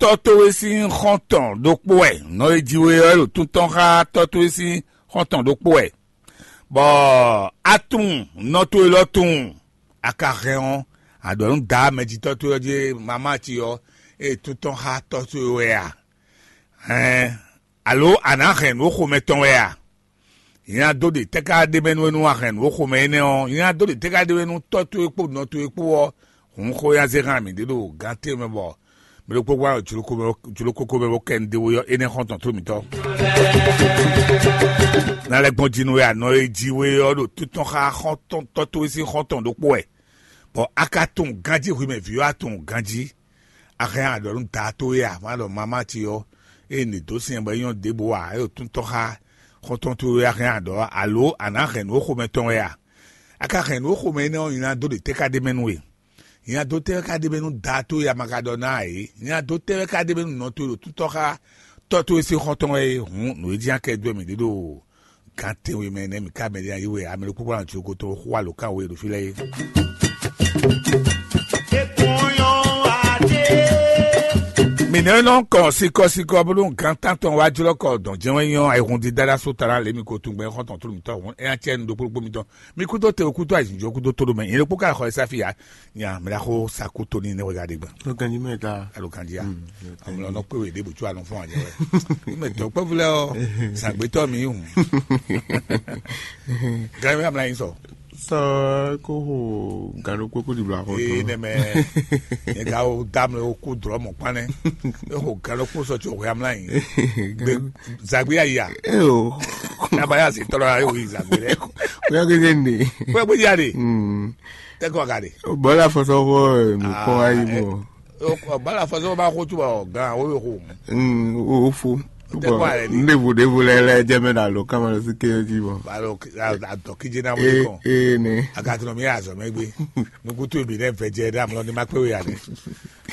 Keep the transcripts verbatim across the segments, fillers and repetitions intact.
tɔ́ towe sín xɔ́ntɔn ɖokpó wɛ. Nɔ e ji we ɔ́ ɖo tún tɔn xá tɔ́ towe sín xɔ́ntɔn ɖokpó wɛ, bɔ a tunwun nɔ towe lɔ tunwun. A ka hɛn ɔ́, a ɖɔ nú daá mɛjitɔ́ towe ɔ́ jí, mamá ce ɔ́, ée tún tɔn xá tɔ́ towe wɛ a? Hɛn, alo a nǎ hɛn nǔ xomɛ tɔn wɛ a? Nyɛ ná dó ɖe tɛ́ ká ɖ'é mɛ nú we nú a hɛn nǔ e xomɛ énɛ́ ɔ́? Nyɛ ná dó ɖe tɛ́ ká ɖ'é mɛ nú tɔ́ towe kpó nɔ towe kpó ɔ́? Hǔn xó nyá zé hán mǐ ɖé ɖo gán ce mɛ, bɔ mɛ ɖokpó gbán jlokoko mɛ bó kɛ nu ɖé we ɔ́, énɛ́ xɔ́ntɔn tó mǐtɔn. Ná lɛ́ gbɔn jí nú we anɔ e ji we ɔ́ ɖo títɔn xá xɔ́ntɔn tɔ́ towe sín xɔ́ntɔn ɖokpó wɛ, bɔ a ka tunwun ganjí hwi mɛ vǐ ɔ́, a tunwun ganjí. A hɛn a ɖɔ nú da towe a, má ɖɔ mamá ce ɔ́, ée nǐ dó sin bɔ é nyɔ́ ɖěbǔ ǎ, é ɖo tún tɔ́ xá xɔ́ntɔn towe wɛ a hɛn a ɖɔ alo a nǎ hɛn nǔ e xomɛ tɔn wɛ a? A ka hɛn nǔ e xomɛ énɛ́ ɔ́, nyi ná dó ɖe tɛ́ ká ɖ'é mɛ nú we? Nyi ná dó tɛ́ wɛ ká ɖ'é mɛ nú da towe a ma ka ɖɔ ná ǎ é? Nyi ná dó tɛ́ wɛ ká ɖ'é mɛ nú nɔ towe ɖo tún tɔ́ xá tɔ́ towe sín xɔ́ntɔn wɛ é? Hǔn nǔ e jí ná kɛ dó mǐ ɖé ɖo gǎn tɛnwe mɛ nɛ́ mǐ ká mɛ ɖé ná yí we ame ɖokpó kpán cí ko tó xó alǒkan we ɖo fí lɛ́ɛ é. Mǐ nɛ́ nɔ kɔ sikɔsikɔ bónú gǎn tántɔn wá jlɔ́ kɔ dɔn jɛ́n wɛ nyɔ́ ayihun dídá ɖó asú ta ná lě mi ko tungbɛn xɔ́ntɔn tlú mitɔn hǔn é ná cɛ nu ɖokpó ɖokpó mitɔn. Mi kúdó te kúdó ayǐjínjɔ́n kúdó tóɖó mɛ nyɛ ɖokpó ká xɔ ɛ sáfì ǎ. Nya mɛ ɖaxó sa kú tóní nɛ́ wɛ ɖa ɖe gbɔn. Ló ganjí mɛ ta. Alo ganjí a. Mm, ló ganjí. Amlɔ nɔ kpé wé ɖěbǔ tsú anɔ fún anyɛ wɛ. Mɛ dɔ̌kpɛvú lɛ́ɛ ɔ́, zǎngbétɔ́ mi hùn. Gánwé amla nyi sɔ. Sɔ kó ho gán ɖokpó kó ɖibla xɔ Ee tɔn. Nɛmɛ, nyɛ ka wo dá mlɛ wo kú drɔ̌ mɔ kpán nɛ́. É ho gán ɖokpó sɔ tso hwɛ amla nyi. Gbe zǎgbé ayi a. Eo. Naba ya si tɔlɔ ya yóò yi zǎgbé lɛ. Kóyá kéde ne. Kóyá gbé ya de. Mm. Tẹ́kọ̀ ka de. Bọ́lá fɔsɔfɔ nìkan ayé mọ̀. Bala fɔsɔ bá kó túbọ̀ gan o yóò kó. Mm, o fo. Tẹ́kọ̀ ayé ni. Ndévo dévo lɛ lɛ jẹ́ mɛ na lo kama lọ sí kéyɔ́ jí bɔ. Balo adɔ kíjé náà wọlé Ee kàn. Ee ne. Agatɔnɔ mi yà zɔ mɛ gbé. Nukutu ebi nɛ vɛ jɛ dá mlɔ ni ma kpé wé yà dé.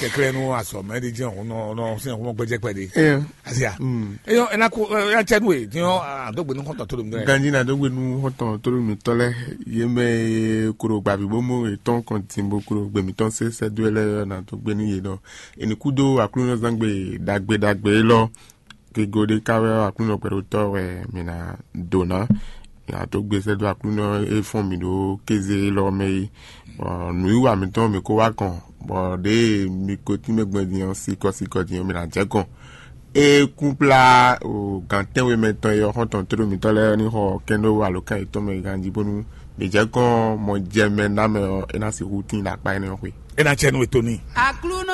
Kɛkɛlɛ nu azɔ mɛ di jẹ́ òun nɔ sínú ọmọ gbẹjẹ pẹ̀lú. Ee. Asia. Mm. Eyɔ ɛna ko ɛna cɛ nu ye tiɲɔ adógbe nu kɔntɔn tó dom dɛ. Ganji na dógbe nu kɔntɔn tó dom tɔ lɛ. Ye mɛ kuro gbavi bomo etɔn kɔntin bo kuro gbemi tɔn se sɛ do lɛ na dógbe ni ye dɔ. Eni kudo aklunɔ zangbe dagbe dagbe lɔ. Kego ɖé ká wɛ aklunɔ gbɛɖotɔ wɛ mi na do ná. Mi na dógbe sɛ do aklunɔ e fɔn mi ɖo kéze lɔ mɛ yi. Bɔ nǔwiwa mitɔn mi ko wá kɔn, bɔ ɖě mi ko tínmɛ gbɔn din ɔ́, sikɔ sikɔ din ɔ́, mi na jɛ kɔn. E kún kplá o gǎn tɛ́nwe mɛ tɔn e ɔ́ xɔ́ntɔn tóɖó mitɔ́ lɛ́ɛ ní xɔ kɛ́n ɖó alǒkan yětɔn mɛ ganjí bónú mǐ jɛ kɔn mɔ jɛ mɛ ná mɛ ɔ́, é ná sixú tín ɖo akpá énɛ́ ɔ́ xwe. É ná cɛ nú we tó n'i. Aklúnɔ